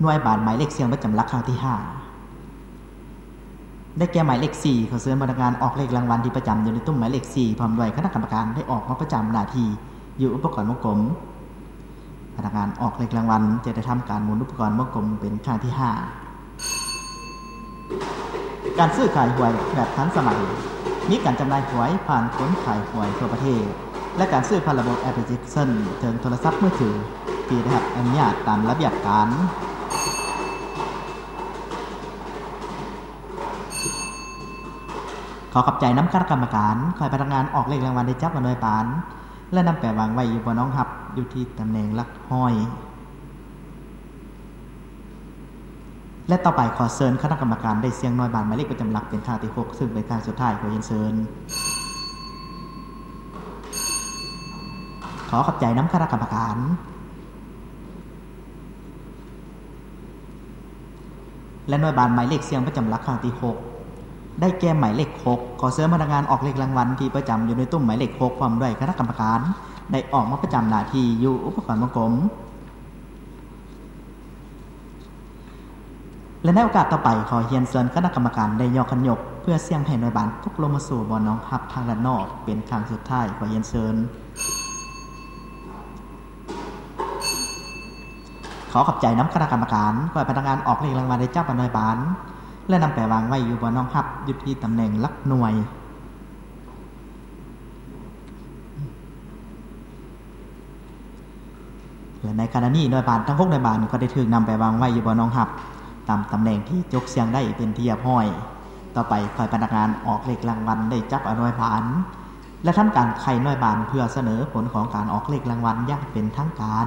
ໜ່ວຍບານໝາຍເລກສ່ຽງປະຈຳຫຼັກຄັ້ງທີຫ້າ ໄດ້ແກ່ໝາຍເລກສີ່. ຂໍເຊີນພະນັກງານອອກເລກລາງວັນທີ່ປະຈຳຢູ່ໃນຕຸ້ມໝາຍເລກສີ່ ພ້ອມດ້ວຍຄະນະກຳມະການໄດ້ອອກມາປະຈຳໜ້າທີ່ຢູ່ອຸປະກອນວົງກົມ. ພະນັກງານອອກເລກລາງວັນຈະໄດ້ທຳການໝູນອຸປະກອນວົງກົມເປັນຄັ້ງທີຫ້າ. ການຊື້ຂາຍຫວຍແບບທັນສະໄໝ, ມີການຈຳໜ່າຍຫວຍຜ່ານຄົນຂາຍຫວຍທົ່ວປະເທດ ແລະ ການຊື້ຜ່ານລະບົບແອັບພລິເຄຊັນເທິງໂທລະສັບມືຖືທີ່ໄດ້ຮັບອະນຸຍາດຕາມລະບຽບການ. ຂໍຂອບໃຈນຳຄະນະກຳມະການ. ຂໍໃຫ້ພະນັກງານອອກເລກລາງວັນໄດ້ຈັບເອົາໜ່ວຍບານ ແລະ ນຳໄປວາງໄວ້ຢູ່ບ່ອນຮອງຮັບ ຢູ່ທີ່ຕຳແໜ່ງຫຼັກຮ້ອຍ. ແລະ ຕໍ່ໄປຂໍເຊີນຄະນະກຳມະການໄດ້ສ່ຽງໜ່ວຍບານໝາຍເລກປະຈຳຫຼັກເປັນຄັ້ງທີຫົກ ຊຶ່ງເປັນຄັ້ງສຸດທ້າຍ. ຂໍຮຽນເຊີນ. ຂໍຂອບໃຈນຳຄະນະກຳມະການ. ແລະ ໜ່ວຍບານໝາຍເລກສ່ຽງປະຈຳຫຼັກຄັ້ງທີຫົກ ໄດ້ແກ່ໝາຍເລກຫົກ. ຂໍເຊີນພະນັກງານອອກເລກລາງວັນທີ່ປະຈຳຢູ່ໃນຕຸ້ມໝາຍເລກຫົກ ພ້ອມດ້ວຍຄະນະກຳມະການ ໄດ້ອອກມາປະຈຳໜ້າທີ່ຢູ່ອຸປະກອນວົງກົມ. ແລະ ໃນໂອກາດຕໍ່ໄປ, ຂໍຮຽນເຊີນຄະນະກຳມະການໄດ້ຍໍຂັນຍົກ ເພື່ອສ່ຽງໃຫ້ໜ່ວຍບານຕົກລົງມາສູ່ບ່ອນຮອງຮັບທາງດ້ານນອກເປັນຄັ້ງສຸດທ້າຍ. ຂໍຮຽນເຊີນ. ຂໍຂອບໃຈນຳຄະນະກຳມະການ. ຂໍໃຫ້ພະນັກງານອອກເລກລາງວັນໄດ້ຈັບເອົາໜ່ວຍບານ ແລະ ນຳໄປວາງໄວ້ຢູ່ບ່ອນຮອງຮັບ ຢູ່ທີ່ຕຳແໜ່ງຫຼັກໜ່ວຍ. ແລະ ໃນຂະນະນີ້ໜ່ວຍບານທັງຫົກໜ່ວຍບານກໍໄດ້ຖືກນຳໄປວາງໄວ້ຢູ່ບ່ອນຮອງຮັບ ຕາມຕຳແໜ່ງທີ່ຈົກສ່ຽງໄດ້ເປັນທີ່ຮຽບຮ້ອຍ. ຕໍ່ໄປຂໍໃຫ້ພະນັກງານອອກເລກລາງວັນໄດ້ຈັບເອົາໜ່ວຍບານ ແລະ ທຳການໄຂໜ່ວຍບານເພື່ອສະເໜີຜົນຂອງການອອກເລກລາງວັນຢ່າງເປັນທາງການ.